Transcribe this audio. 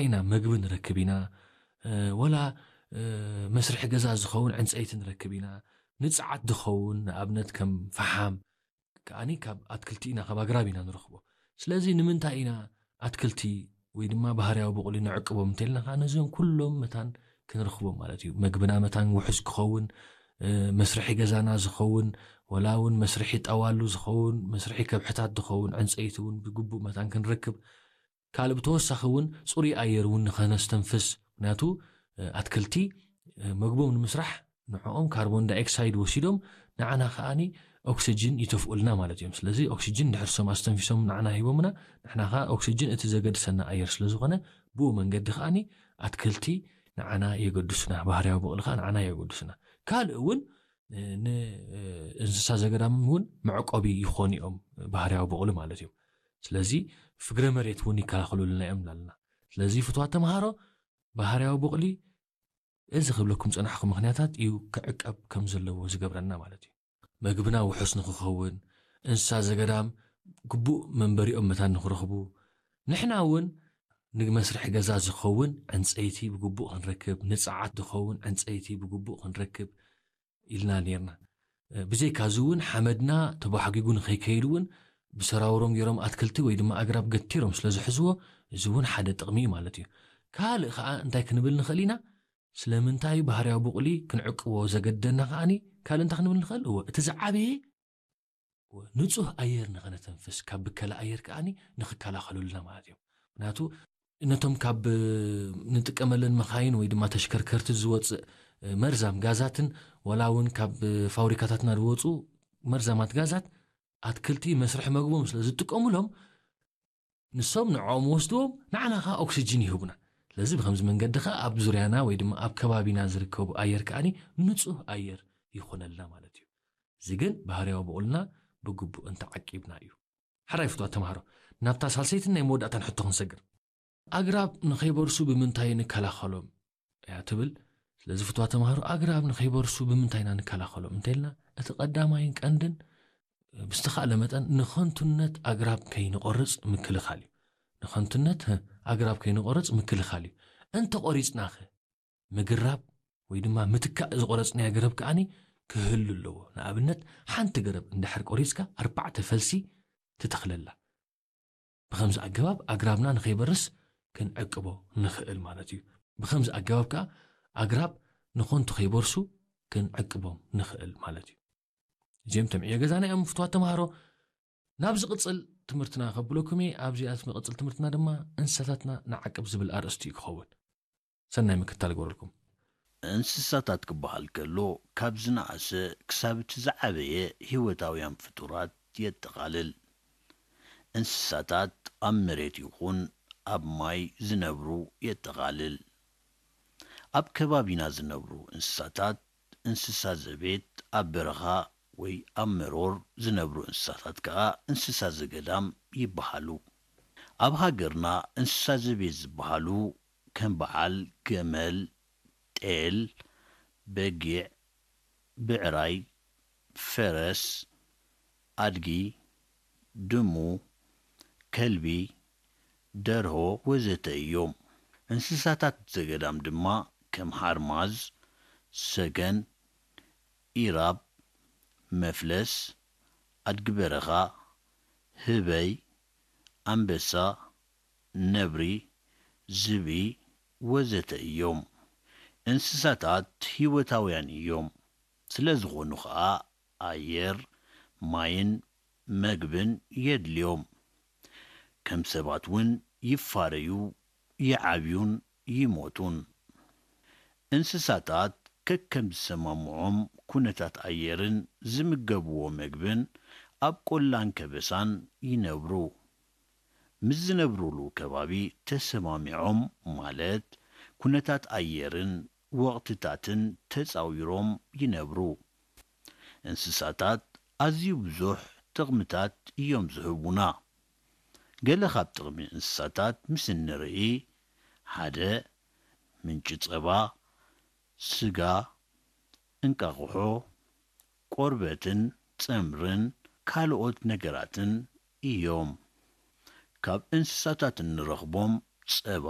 ኢና መግቢ ንረክብ ኢና። ወላ መስርሒ ገዛ ዝኸውን ዕንፀይቲ ንረክብ ኢና። ንፅዓት ዝኸውን ንኣብነት ከም ፈሓም ከዓኒ ካብ ኣትክልቲ ኢና፣ ካብ ኣግራብ ኢና ንረኽቦ። ስለዚ ንምንታይ ኢና ኣትክልቲ ወይ ድማ ባህርያዊ ብቑሊ ንዕቅቦም እንተልና ከዓ ነዚኦም ኩሎም መታን ክንረኽቦም ማለት እዩ። መግብና መታን ውሑስ ክኸውን፣ መስርሒ ገዛና ዝኸውን፣ ወላ እውን መስርሒ ጠዋሉ ዝኸውን፣ መስርሒ ከብሕታት ዝኸውን ዕንፀይቲ እውን ብግቡእ መታን ክንረክብ፣ ካልእ ብተወሳኺ እውን ፅሩይ ኣየር እውን ንኸነስተንፍስ። ምክንያቱ ኣትክልቲ መግቦም ንምስራሕ ንዕኦም ካርቦን ዳይኦክሳይድ ወሲዶም ንዓና ከዓኒ ኦክሲጅን ይተፍኡልና ማለት እዮም። ስለዚ ኦክሲጅን ድሕርሶም ኣስተንፊሶም ንዓና ሂቦምና፣ ንሕና ከዓ ኦክሲጅን እቲ ዘገድሰና ኣየር ስለዝኾነ ብኡ መንገዲ ከዓኒ ኣትክልቲ ንዓና የገድሱና፣ ባህርያዊ ብቕሊ ከዓ ንዓና የገድሱና። ካልእ እውን ንእንስሳ ዘገዳም እውን መዕቆቢ ይኾኑ እዮም ባህርያዊ ብቕሊ ማለት እዮም። ስለዚ ፍግረ መሬት እውን ይከላኸሉልና እዮም ላልና። ስለዚ ፍትዋት ተምሃሮ ባህርያዊ ብቕሊ እዚ ክብለኩም ፀናሕኩ ምክንያታት እዩ ክዕቀብ ከም ዘለዎ ዝገብረና ማለት እዩ። መግብና ውሑስ ንክኸውን፣ እንስሳ ዘገዳም ግቡእ መንበሪኦም መታን ንክረኽቡ፣ ንሕና እውን ንመስርሒ ገዛ ዝኸውን ዕንፀይቲ ብግቡእ ክንረክብ፣ ንፀዓት ዝኸውን ዕንፀይቲ ብግቡእ ክንረክብ ኢልና ነርና። ብዘይካዚ እውን ሓመድና ተባሕጊጉ ንከይከይድ እውን ብሰራውሮም ገይሮም ኣትክልቲ ወይ ድማ ኣግራብ ገቲሮም ስለ ዝሕዝዎ፣ እዚ እውን ሓደ ጥቕሚ እዩ ማለት እዩ። ካልእ ከዓ እንታይ ክንብል ንኽእል ኢና? ስለምንታይ ባህርያዊ ብቑሊ ክንዕቅቦ ዘገደና ከዓኒ ካልእ እንታይ ክንብል ንኽእል? እወ፣ እቲ ዝዓበየ ንጹህ ኣየር ንኸነተንፍስ፣ ካብ ብከላ ኣየር ከዓኒ ንኽከላኸሉልና ማለት እዮም። ምክንያቱ ነቶም ካብ ንጥቀመለን መኻይን ወይ ድማ ተሽከርከርቲ ዝወፅእ መርዛም ጋዛትን ዋላ እውን ካብ ፋብሪካታትና ዝወፁ መርዛማት ጋዛት ኣትክልቲ መስርሒ መግቦም ስለ ዝጥቀሙሎም ንሶም ንዕኦም ወስድዎም ንዓና ከዓ ኦክሲጅን ይህቡና። ስለዚ ብከምዚ መንገዲ ከዓ ኣብ ዙርያና ወይ ድማ ኣብ ከባቢና ዝርከቡ ኣየር ከዓኒ ንፁህ ኣየር ይኾነልና ማለት እዩ። እዚ ግን ባህርያዊ ብቑልና ብግቡእ እንተዓቂብና እዩ። ሓራይ ፍትዋ ተምሃሮ ናብታ ሳልሰይትን ናይ መወዳእታን ሕቶ ክንሰግር። ኣግራብ ንኸይበርሱ ብምንታይ ንከላኸሎም እያ ትብል። ስለዚ ፍትዋ ተምሃሮ ኣግራብ ንኸይበርሱ ብምንታይ ኢና ንከላኸሎም እንተልና እቲ ቀዳማይን ቀንድን ብዝተኻእለ መጠን ንኸንቱነት ኣግራብ ከይንቆርፅ ምክልኻል እዩ። ንኸንቱነት ኣግራብ ከይንቆርፅ ምክልኻል እዩ። እንተቆሪፅናኸ ምግራብ ወይ ድማ ምትካእ ዝቆረፅናዮ ገረብ ከዓኒ ክህሉ ኣለዎ። ንኣብነት ሓንቲ ገረብ እንድሕር ቆሪፅካ ኣርባዕተ ፈልሲ ትተኽለላ። ብኸምዚ ኣገባብ ኣግራብና ንኸይበርስ ክንዕቅቦ ንኽእል ማለት እዩ። ብኸምዚ ኣገባብ ከዓ ኣግራብ ንኸንቱ ከይበርሱ ክንዕቅቦም ንኽእል ማለት እዩ። እዚኦም ተምዕዮ ገዛና እዮም ፍትዋት ተምሃሮ። ናብ ዝቕፅል ትምህርትና ከብለኩም እየ። ኣብዚኣ ዝቕፅል ትምህርትና ድማ እንስሳታትና ንዓቅብ ዝብል ኣርእስቲ እዩ ክኸውን። ሰናይ ምክትታል ይገብረልኩም። እንስሳታት ክበሃል ከሎ ካብ ዝነኣሰ ክሳብ እቲ ዝዓበየ ህይወታውያን ፍጡራት የጠቓልል። እንስሳታት ኣብ መሬት ይኹን ኣብ ማይ ዝነብሩ የጠቓልል። ኣብ ከባቢና ዝነብሩ እንስሳታት እንስሳ ዘቤት፣ ኣብ በረኻ ወይ ኣብ መሮር ዝነብሩ እንስሳታት ከኣ እንስሳ ዘገዳም ይበሃሉ። ኣብ ሃገርና እንስሳ ዘቤት ዝበሃሉ ከም በዓል ገመል፣ ጤል፣ በጊዕ፣ ብዕራይ፣ ፈረስ፣ ኣድጊ፣ ድሙ፣ ከልቢ፣ ደርሆ ወዘተ እዮም። እንስሳታት ዘገዳም ድማ ከም ሓርማዝ፣ ሰገን፣ ኢራብ፣ መፍለስ፣ ኣድጊ በረኻ፣ ህበይ፣ ኣንበሳ፣ ነብሪ፣ ዝብኢ ወዘተ እዮም። እንስሳታት ህይወታውያን እዮም። ስለ ዝኾኑ ኸኣ ኣየር፣ ማይን መግብን የድልዮም። ከም ሰባት እውን ይፋረዩ፣ ይዓብዩን ይሞቱን። እንስሳታት ከከም ዝሰማምዖም ኩነታት ኣየርን ዝምገብዎ መግብን ኣብ ቆላን ከበሳን ይነብሩ። ምስ ዝነብሩሉ ከባቢ ተሰማሚዖም ማለት ኩነታት ኣየርን ወቕትታትን ተጻዊሮም ይነብሩ። እንስሳታት ኣዝዩ ብዙሕ ጥቕምታት እዮም ዝህቡና። ገለ ካብ ጥቕሚ እንስሳታት ምስ እንርኢ፣ ሓደ፣ ምንጪ ጸባ፣ ስጋ፣ እንቃቑሖ፣ ቆርበትን ጸምርን ካልኦት ነገራትን እዮም። ካብ እንስሳታት እንረኽቦም ጸባ፣